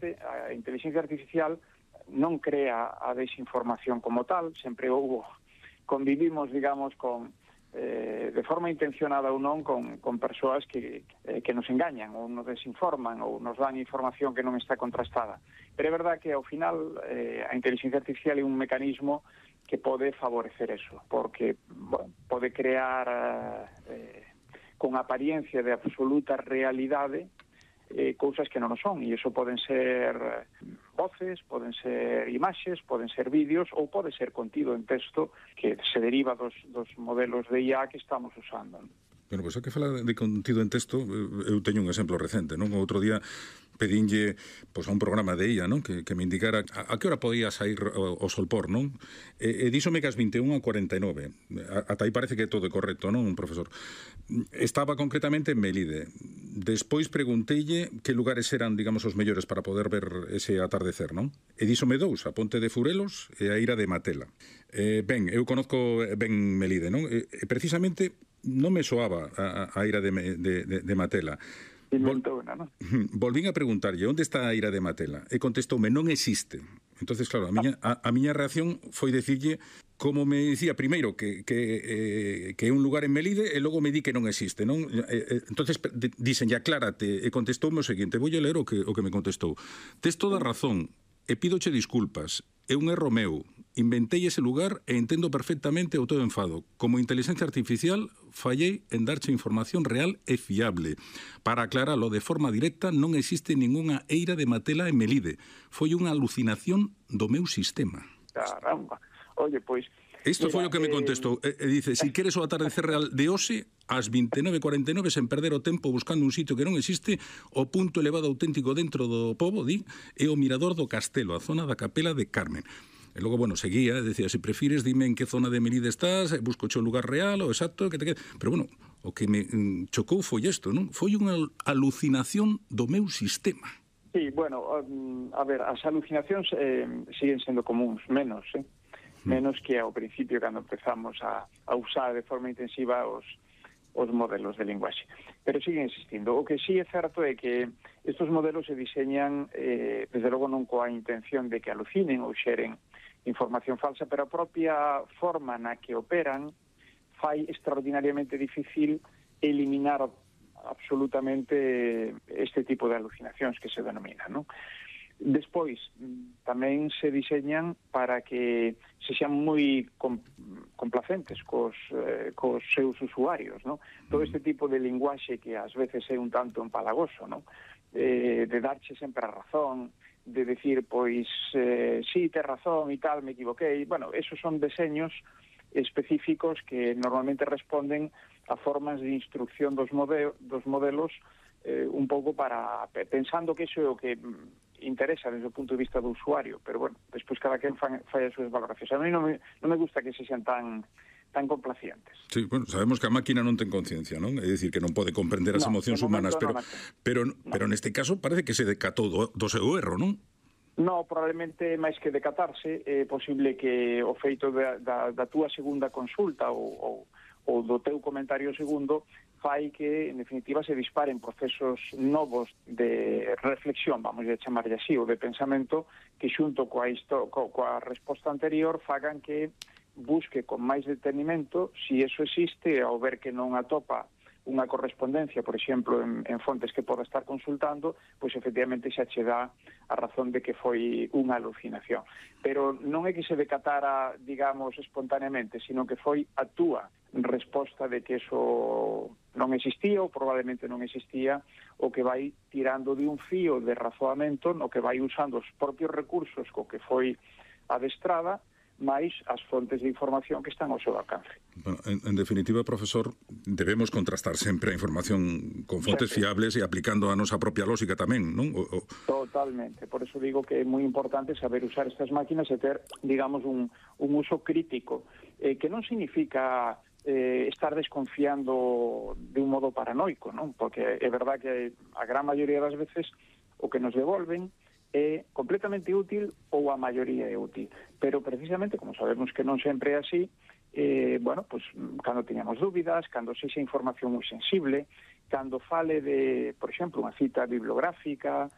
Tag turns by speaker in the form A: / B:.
A: parte, a inteligencia artificial non crea a desinformación como tal, sempre convivimos, digamos, de forma intencionada ou non con persoas que nos engañan ou nos desinforman ou nos dan información que non está contrastada. Pero é verdad que ao final a inteligencia artificial é un mecanismo que pode favorecer eso, porque pode crear con apariencia de absoluta realidade cousas que non o son, e iso poden ser voces, poden ser imaxes, poden ser vídeos ou pode ser contido en texto que se deriva dos modelos de IA que estamos usando.
B: Bueno, pois, que fala de contido en texto, eu teño un exemplo recente, non? Outro día pedinlle pois, a un programa de IA, non? Que me indicara a que hora podía sair o solpor, non? E díxome que as 21:49. Ata aí parece que todo é correcto, non, profesor? Estaba concretamente en Melide. Despois pregunteille que lugares eran, digamos, os mellores para poder ver ese atardecer, non? E díxome dous, a Ponte de Furelos e a Ira de Matela. Ben, eu conozco ben Melide, non? Precisamente non me soaba a Ira de Matela. Volvín a preguntarlle onde está a Ira de Matela e contestoume non existe. Entonces, claro, a miña reacción foi decirlle, como me dicía primeiro que é un lugar en Melide e logo me di que non existe, non? Entonces dixenlle aclárate e contestoume o seguinte, voulle ler o que me contestou. Tes toda razón e pídoche disculpas, é un erro meu. Inventei ese lugar e entendo perfectamente o teu enfado. Como inteligencia artificial, fallei en darche información real e fiable. Para aclaralo de forma directa, non existe ningunha Eira de Matela en Melide. Foi unha alucinación do meu sistema.
A: Caramba. Oye, pois...
B: Isto foi o que me contestou. E dice, si queres o atardecer real de hoxe, ás 29:49, sen perder o tempo buscando un sitio que non existe, o punto elevado auténtico dentro do pobo, di, é o mirador do castelo, a zona da capela de Carmen. E logo, bueno, seguía, decía, se prefires, dime en que zona de Melide estás, busco o lugar real, o exacto, que te quede. Pero, bueno, o que me chocou foi isto, non? Foi unha alucinación do meu sistema.
A: Sí, bueno, a ver, as alucinacións siguen sendo comuns, menos que ao principio, cando empezamos a usar de forma intensiva os modelos de linguaxe. Pero siguen existindo. O que sí é certo é que estes modelos se diseñan, desde logo non coa intención de que alucinen ou xeren información falsa, pero a propia forma na que operan fai extraordinariamente difícil eliminar absolutamente este tipo de alucinacións que se denominan, non? Despois, tamén se diseñan para que se xan moi complacentes cos seus usuarios, non? Todo este tipo de linguaxe que ás veces é un tanto empalagoso, non? De darche sempre a razón, de decir, pois, sí, tes razón e tal, me equivoquei. Bueno, esos son deseños específicos que normalmente responden a formas de instrucción dos modelos un pouco para pensando que iso é o que interesa desde o punto de vista do usuario, pero bueno, despois cada quen fai as súas valoracións. A mí non me gusta que se sean tan complacientes.
B: Sí, bueno, sabemos que a máquina non ten conciencia, non? É dicir, que non pode comprender as emocións humanas, pero neste caso parece que se decatou do seu erro, non?
A: No, probablemente máis que decatarse, é posible que o feito da túa segunda consulta ou do teu comentario segundo fai que, en definitiva, se disparen procesos novos de reflexión, vamos a chamarlle así, ou de pensamento, que xunto coa resposta anterior fagan que busque con máis detenimento si eso existe, ao ver que non atopa unha correspondencia, por exemplo, en fontes que poda estar consultando, pois efectivamente xa che dá a razón de que foi unha alucinación. Pero non é que se decatara, digamos, espontaneamente, sino que foi a túa resposta de que eso non existía ou probablemente non existía, o que vai tirando de un fío de razoamento, no que vai usando os propios recursos co que foi adestrada, máis as fontes de información que están ao seu alcance.
B: Bueno, en definitiva, profesor, debemos contrastar sempre a información con fontes fiables e aplicando a nosa propia lógica tamén, non?
A: Totalmente. Por eso digo que é moi importante saber usar estas máquinas e ter, digamos, un uso crítico, que non significa estar desconfiando de un modo paranoico, non? Porque é verdad que a gran maioría das veces o que nos devolven é completamente útil ou a maioría é útil. Pero precisamente, como sabemos que non sempre é así, bueno, pues, cando teñamos dúbidas, cando sexa información moi sensible, cando fale de, por exemplo, unha cita bibliográfica,